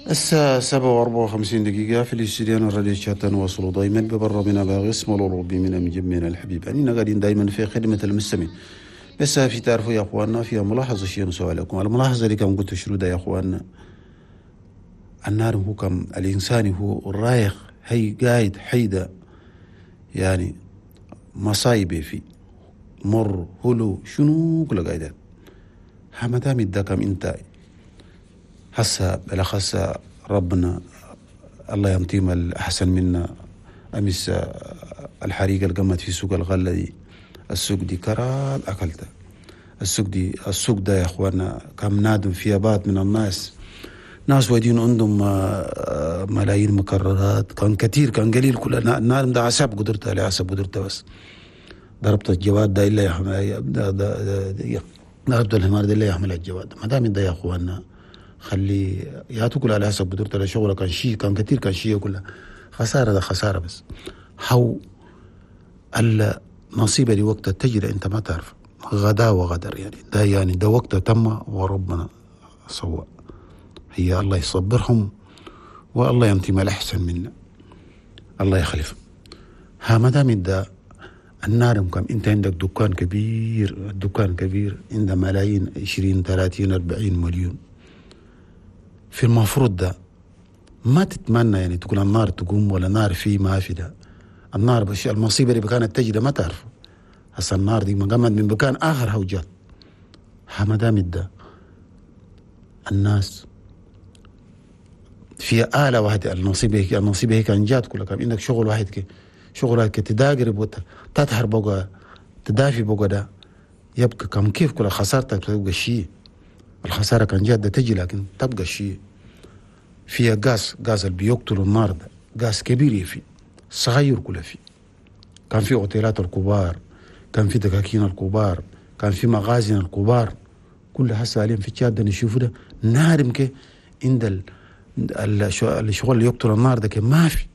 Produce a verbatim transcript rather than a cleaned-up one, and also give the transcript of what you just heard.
الساعة سبعة وأربعة وخمسين دقيقة في الاستديو الراديو تشاد. نواصل دائما ببرنامجنا باغس ملوروبي من مجمعنا الحبيب. يعني قاعدين دائما في خدمة المستمعين. بس في تعرفوا يا اخواننا فيها ملاحظة شيء نسوي لكم. الملاحظة اللي كان قلت شنو ده يا اخواننا؟ النار هو كم الإنسان هو الرايخ هي قايد حيدة يعني مصايب في مر هلو شنو كل قايدات. ما دام كم انت هسه بالأخص ربنا الله ينطيم الأحسن منا. أمس الحريقة اللي قامت في سوق الغلة دي، السوق دي كراد أكلتها. السوق دي السوق ده يا أخوانا كم نادم فيها بعض من الناس، ناس ودين عندهم ملايين مكررات، كان كثير كان قليل، كل نادم ده عسب قدرتها على حسب قدرتها. بس ضربت الجواد ده إلا يحمل ضربت الحمار ده إلا يحمل الجواد. ما دام ده يا أخوانا خلي يا تاكل على حسب قدرتها، شغله كان شيء كان كثير كان شيء كلها خسارة، ده خسارة. بس حو النصيبة دي وقتها تجري انت ما تعرف غدا وغدر يعني ده يعني ده وقتها تم وربنا سوى. هي الله يصبرهم والله ينتمي الأحسن منا، الله يخلف. ها ما دام ده النار كم انت عندك دكان كبير، الدكان كبير عند ملايين عشرين ثلاثين أربعين مليون، في المفروض ده ما تتمنى يعني تقول النار تقوم ولا نار في ما في ده. النار بش المصيبة اللي كانت تجري ما تعرف هسه النار دي ما قامت من مكان آخر هوجات. ها ما دام ده الناس في آلة واحدة النصيبة هيك النصيبة هيك كان جات كلها كان عندك شغل واحد كي شغل واحد كي تداقر تطهر بقى تدافي بقى ده يبقى كم كيف كل خسارتك تبقى شيء. الخسارة كان جات ده تجي لكن تبقى شيء. فيها غاز، غاز اللي بيقتل النار ده غاز كبير في صغير كله في. كان في اوتيلات الكبار، كان في دكاكين الكبار، كان في مغازن الكبار، كل هسه عليهم في تشاد نشوفه ده نار يمكن عند الشغل اللي يقتل النار ده ما في.